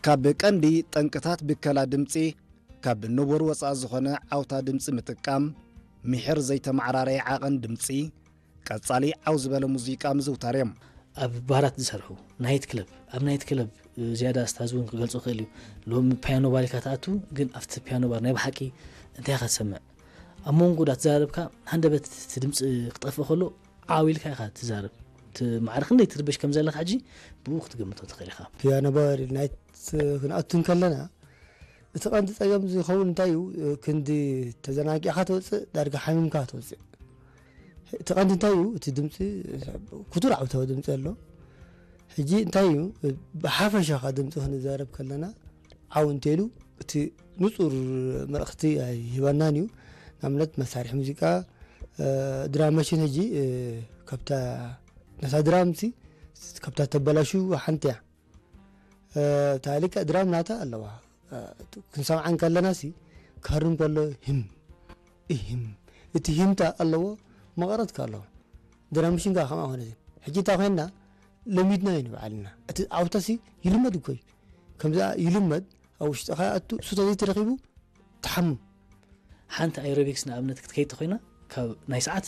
ካብ ቀንዲ ጠንቅታት ብከላ ድምጺ፣ ካብ ንቡር ወጻኢ ዝኾነ ዓውታ ድምጺ ምጥቃም፣ ምሒር ዘይተመዓራረየ ዓቐን ድምጺ፣ ቀጻሊ ዓው ዝበለ ሙዚቃ ምዝውታር እዮም። ኣብ ባራት ዝሰርሑ፣ ናይት ክለብ፣ ኣብ ናይት ክለብ ዝያዳ ኣስታዝ እውን ክገልጾ ክእል እዩ። ሎም ፒያኖ ባር ኢልካ ትኣቱ፣ ግን ኣብቲ ፒያኖ ባር ናይ ብሓቂ እንታይ ኢኻ ትሰምዕ? ኣብ መንጎ ዳ ትዛረብካ፣ ሃንደበት እቲ ድምጺ ክጠፍእ ከሎ ዓው ኢልካ ኢኻ ትዛረብ። እቲ ማዕረ ክንደይ ትርበሽ ከም ዘለኻ ሕጂ ብኡ ክትግምቶ ትኽእል ኢኻ። ፒያኖ ባር ናይት ክንኣቱ እንከለና፣ እቲ ቀንዲ ጸገም ዝኸውን እንታይ እዩ? ክንዲ ተዘናጊዕካ ትወጽእ፣ ዳርጋ ሓሚምካ ትወጽእ። እቲ ቀንዲ እንታይ እዩ? እቲ ድምጺ ክቱር ዓውታዊ ድምጺ ኣሎ። ሕጂ እንታይ እዩ? ብሓፈሻኻ ድምጺ ክንዛረብ ከለና፣ ዓው እንተይሉ እቲ ንጹር መልእኽቲ ኣይህበናን እዩ። ንኣብነት መሳርሒ ሙዚቃ፣ እ፣ ድራም ማሽን ሕጂ፣ እ፣ ካብታ ነታ ድራምሲ ካብታ ተበላሹ ሓንቲ እያ። እ፣ እታ ልክዕ ድራም ናታ ኣለዋ። እ፣ ክንሰምዓ እንከለናሲ ክሃርም ከሎ ህም፣ እህም፣ እቲ ህምታ ኣለዎ፣ መቐረትካ ኣለዎ። ድራም ማሽን ከኣ ከምኣ ኮነ። ሕጂ እንታይ ኮይንና? ለሚድናዮ ንባዕልና። እቲ ዓውታሲ ይልመድ እኮ እዩ። ከምዛ ይልመድ፣ ኣብ ውሽጥኻ ይኣቱ፣ እሱ ተዘይተረኺቡ ትሓምም። ሓንቲ ኣይሮቢክስ ንኣብነት ክትከይድ ተኾይና፣ ካብ ናይ ሰዓት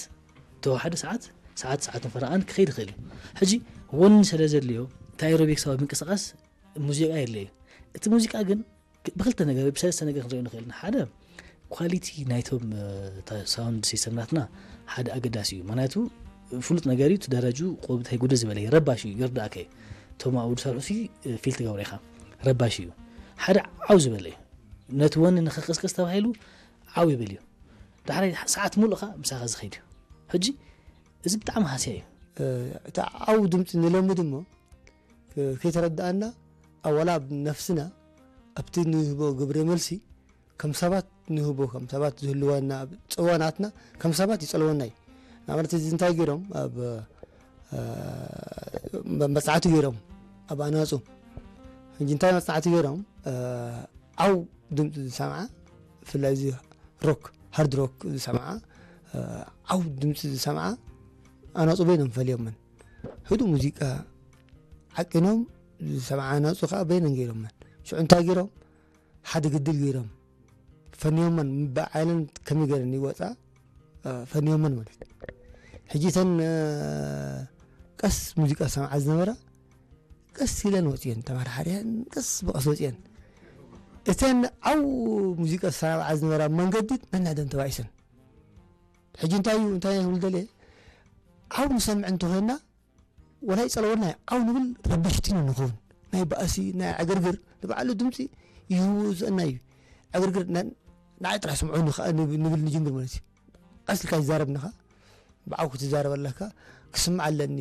ተወሓደ ሰዓት፣ ሰዓት፣ ሰዓትን ፈረቓን ክኸይድ ይኽእል እዩ። ሕጂ ወኒ ስለ ዘድልዮ፣ እቲ ኣይሮቢክሳዊ ምንቅስቓስ ሙዚቃ የድልዮ እዩ። እቲ ሙዚቃ ግን ብክልተ ነገር፣ ብሰለስተ ነገር ክንሪኦ ንኽእል ኢና። ሓደ፣ ኳሊቲ ናይቶም፣ እ፣ ታ-፣ ሳውንድ ሲስተም ናትና ሓደ ኣገዳሲ እዩ። ምኽንያቱ ፍሉጥ ነገር እዩ፣ እቲ ደረጁ ቆብ እንታይ ጉድል ዝበለ እዩ፣ ረባሽ እዩ፣ ይርዳእካ እዩ። እቶም ኣብኡ ዝሰርሑ ሲ፣ እ፣ ፊል ትገብሮ ኢኻ፣ ረባሽ እዩ። ሓደ ዓው ዝበለ እዩ። ነቲ ወኒ ንኽቕስቅስ ተባሂሉ ዓው ይብል እዩ። ዳሕራይ ሰዓት ሙሉእ ኸኣ ምሳኻ ዝኸይድ እዩ። ሕጂ እዚ ብጣዕሚ ሃስያ እዩ። እ፣ እቲ ዓው ድምፂ ንለምድ እሞ፣ እ፣ ከይተረድኣና፣ ኣብ ዋላ ኣብ ነፍስና፣ ኣብቲ ንህቦ ግብረ መልሲ፣ ከም ሰባት ንህቦ፣ ከም ሰባት ዝህልወና፣ ኣብ ጸዋናትና ከም ሰባት ይጸልወና እዩ። ንኣብነት፣ እዚ እንታይ ገይሮም፣ ኣብ፣ እ፣ መ-፣ መጽናዕቲ ገይሮም፣ ኣብ ኣናጹ። ሕጂ እንታይ መጽናዕቲ ገይሮም፣ እ፣ ዓው ድምጺ ዝሰምዓ፣ ብፍላይ እዚ ሮክ፣ ሃርድ ሮክ ዝሰምዓ፣ እ፣ ዓው ድምጺ ዝሰምዓ ኣናጹ በይኖም ፈልዮመን። ህዱእ ሙዚቃ ዓቂኖም ዝሰምዓ ኣናጹ ከኣ በይነን ገይሮመን። ሽዑ እንታይ ገይሮም? ሓደ ግድል ገይሮም ፈንዮመን፣ ብዓይነን ከመይ ገይረን ይወጻ፣ እ፣ ፈንዮመን ማለት እዩ። ሕጂ እተን፣ እ፣ ቀስ ሙዚቃ ዝሰምዓ ዝነበራ ቀስ ኢለን ወፅየን፣ ተማርሓርያን ቀስ ብቐስ ወፅየን። እተን ዓው ሙዚቃ ዝሰማምዓ ዝነበራ መንገዲ ነንሕደን ተባኢሰን። ሕጂ እንታይ እዩ፣ እንታይ ክብል ደልየ? ዓው ንሰምዕ እንተኾይንና፣ ወላ ይፀለወና እዩ፣ ዓው ንብል ረበሽቲ ኢና ንኸውን። ናይ ባእሲ፣ ናይ ዕግርግር፣ ንባዕሉ ድምፂ ይህውዘና እዩ። ዕግርግር፣ ና-፣ ንዓይ ጥራሕ ስምዑኒ ከዓ ንብ-፣ ንብል ንጅምር ማለት እዩ። ቀስ ኢልካ ይዛረብ ንኻ፣ ብዓው ክትዛረብ ኣለካ፣ ክስምዕ ኣለኒ።